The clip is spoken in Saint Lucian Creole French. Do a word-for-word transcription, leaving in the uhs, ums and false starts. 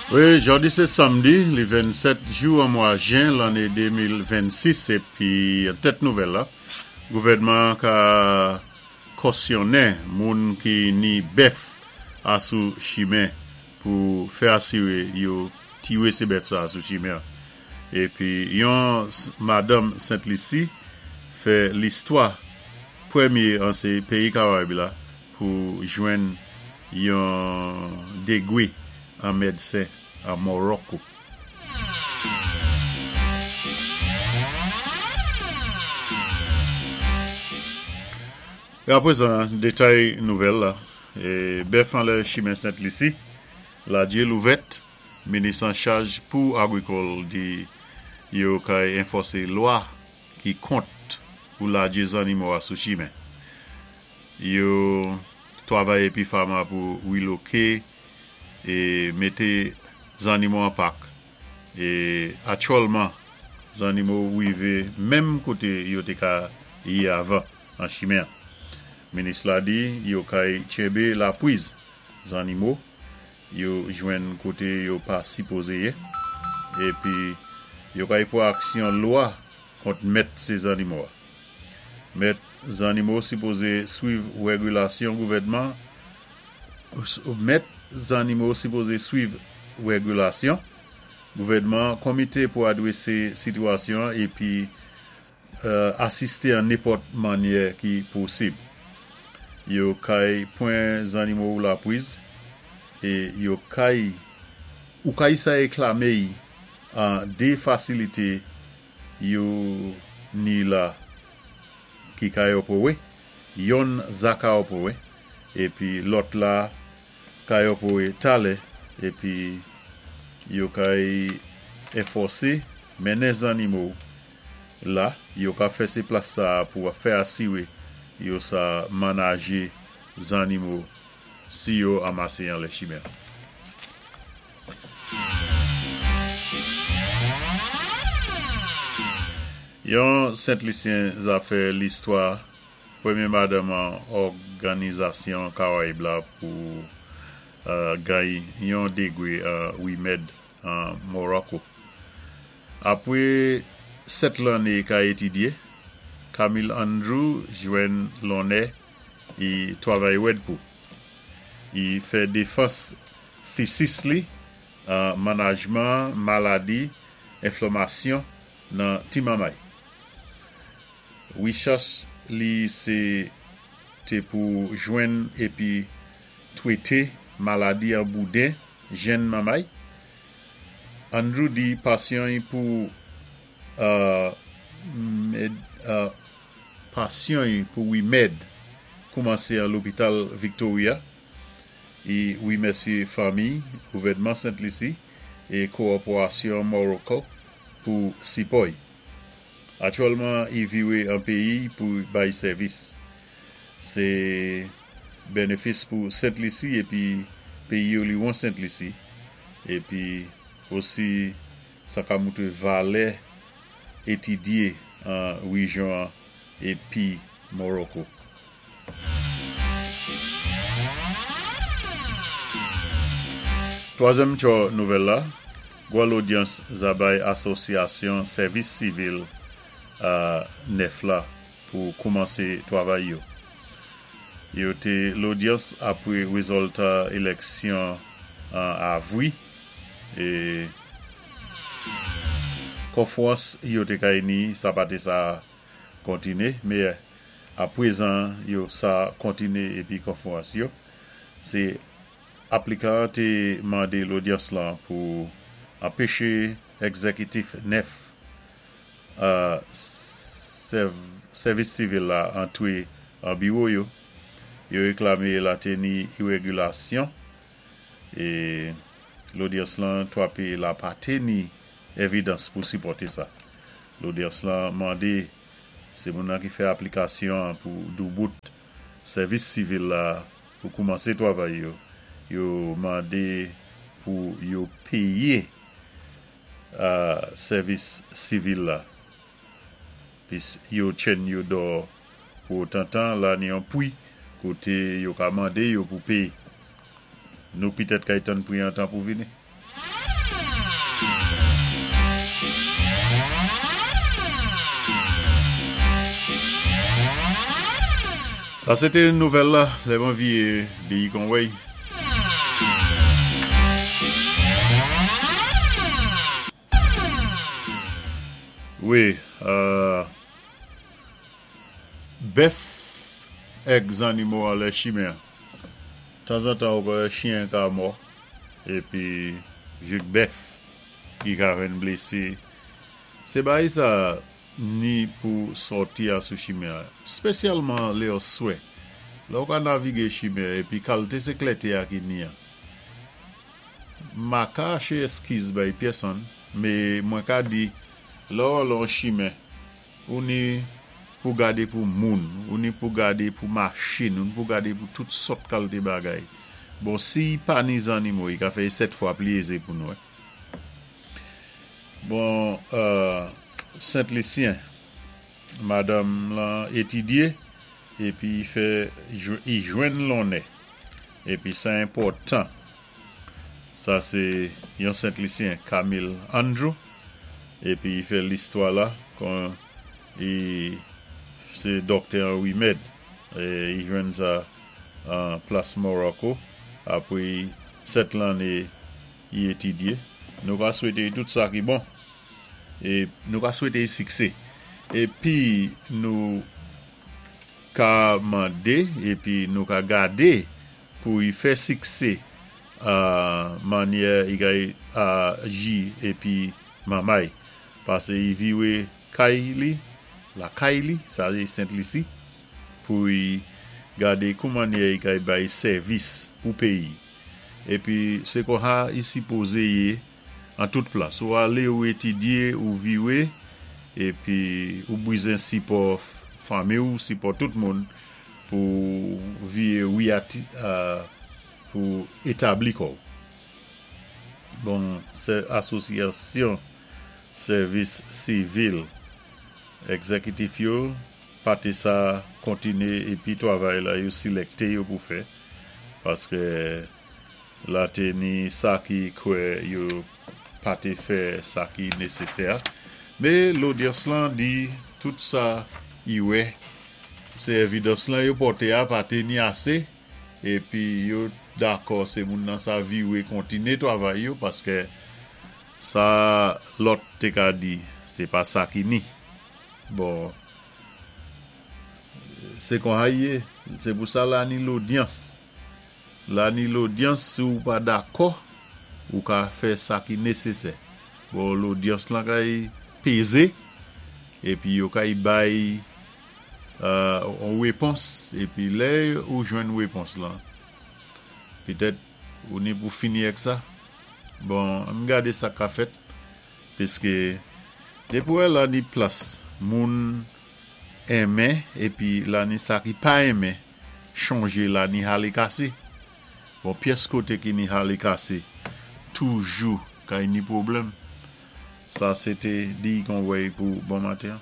Wi, jòdi sé sanmdi, li vennsèt jou an mwa jen lanné de mil vennsis, épi tèt nouvèl la, gouvèdman ka kosyonnen moun ki ni bèf asou chimen pou fè asiré yo tiwé sé bèf sa sou chimen. Épi yon madanm Sent Lisi fè listwa, pwémyé an sé péyi Karayib la pou jwenn yon dégwé an médsin an Morocco. É apwézan, détay nouvèl la, é bèf anlè chimen Sent Lisi, ladjé louvèt, minis an chaj pou agrikòl di yo kay anfòsé lwa ki kont pou ladjé zannimo a sou chimen. Yo twavay épi fama pou wiloké é mété zannimo an pak. É aktyèlman, zannimo wivé menm koté yo té ka yé avan an chimen. Minis la di yo kay tchenbé lapwiz zannimo yo jwenn koté yo pa sipozé yé épi yo kay pwan aksyon lwa kont mèt sé zannimo a. Mèt zannimo sipozé swiv wégilasyon gouvèdman Mèt zannimo sipozé swiv wégilasyon gouvèdman komité pou adwésé sitwasyon épi asisté an nenpòt mannyè ki posib. Yo kay pwan zannimo ou lapwiz é yo kay ou kay sa wéklamé an dé fasilité yo ni la ki kay opéwé, yonn za ka opéwé, épi lòt la kay opéwé talè, épi yo kay anfòsé mennen zannimo la, yo ka fè sé plas sa pou fè asiré yo sa manajé zannimo si yo anmasé anlè chimen. Yon Sent Lisyen za fè listwa, pwémyé madanm an Òganizasyon Karayib la pou gay yon dégwé an wimèd an Morocco. Apwé sèt lanné ka étidyé, Camille Andrew jwenn lonnè i twavay wèd pou. I fè défans thesis li an manajman maladi enflamasyon nan ti manmay. Wichas li sé té pou jwenn épi twété maladi an bouden jenn manmay. Andrew di pasyon pou pasyon pou wimèd koumansé an lopital Victoria. I wimèsyé fanmi, gouvèdman Sent Lisi é kòpórasyon Morocco pou sipò-y. Aktyèlman, i viwé an péyi pou bay sèvis. Sé bénéfis pou Sent Lisi épi péyi oliwon Sent Lisi épi osi sa ka moutré valè étidyé an wéjyon épi Morocco. Twazyèm tjo nouvèl la, gwa lodyans za bay asosyasyon sèvis sivil nèf la pou koumansé twavay yo. Yo té lodyans apwé wézilta éléksyon an avwi é konfwans yo té kay ni sa pa té sa kontiné, mé apwézan yo sa kontiné épi konfwans yo. Sé aplikan té mandé lodyans lan pou anpéché égzékitif nèf sèvis sivil la antwé an biwo yo. Yo wéklamé la té ni irégilasyon é lodyans lan twapé la pa té ni évidans pou sipòté sa. Lodyans lan mandé sé moun nan ki fè aplikasyon pou doubout sèvis sivil la pou koumansé twavay yo. Yo mandé pou yo péyé sèvis sivil la. Pis yo tchenn yo dò pou otan la ni yon pwi koté yo ka mandé yo pou péyé. Nou pitèt kay tann pwi an tan pou vini. Sa sé té nouvèl la, lè mwen viwé di Conway. Wi, euh, bèf èk zannimo anlè chimen. Tanzantan ou wè chyen ka mò, épi jouk bèf ki ka vin blésé. Sé bagay sa ni pou sòti a sou chimen an, spésyalman lè oswè. Lè ou ka navigé chimen épi kalté sé klèté a ki ni an. Ma ka chaché eskiz bay pèsonn, mé mwen ka di lè ou lan chimen, ou ni pou gadé pou moun, ou ni pou gadé pou machin, ou ni pou gadé pou tout sòt kalté bagay. Bon, si pa ni zannimo, i ka fè sèt fwa pli ézé pou nou. Bon, euh, Sent-Lisyen, madanm lan étidyé, épi i fè, i jwenn lonnè. Épi sa enpòtan. Sa sé yon Sent-Lisyen, Camille Andrew, épi i fè listwa la, kon i sé dòktè an wimèd, é i jwenn sa an plas Morocco, apwé sèt lanné i étidyé. Nou ka swété tout sa ki bon, é nou ka swété siksé. Épi nou ka mandé, épi nou ka gadé pou i fè siksé a mannyè i kay aji épi manmay. Pasé i viwé kay li, lakay li, sa sé Sent-Lisi, pou i gadé kou mannyè i kay bay sèvis pou péyi. Épi sé konsa i sipozé yé an tout plas. Ou alé ou étidyé, ou viwé, épi ou bizwen sipò fanmi ou, sipò tout moun pou viwé wiyati, pou établi kò ou. Bon, sé asosyasyon sèvis sivil egzékitif yo, pa té sa kontiné épi twavay la yo silèkté yo pou fè, paské la té ni sa ki kwè yo pa té fè sa ki nésésè. Mé lodyans lan di tout sa i wè, sé évidans lan yo pòté a pa té ni asé, épi yo dakò sé moun nan sa viwé kontiné twavay yo, paské sa lòt té ka di, sé pa sa ki ni. Bon, sé konsa i yé, sé pou sa la ni lodyans. La ni lodyans, si ou pa dakò, ou ka fè sa ki nésésè. Bon, lodyans lan kay pézé, épi yo kay bay euh, on wépons, épi lè ou jwenn wépons lan, pitèt ou ni pou fini èk sa. Bon, ann gadé sa ka fèt, piské dépi ou wè la ni plas moun enmen, épi la ni sa ki pa enmen, chonjé la ni halé kasé. Bon, pyès koté ki ni halé kasé, toujou kay ni pwoblèm. Sa sé té di Conway pou bon maten.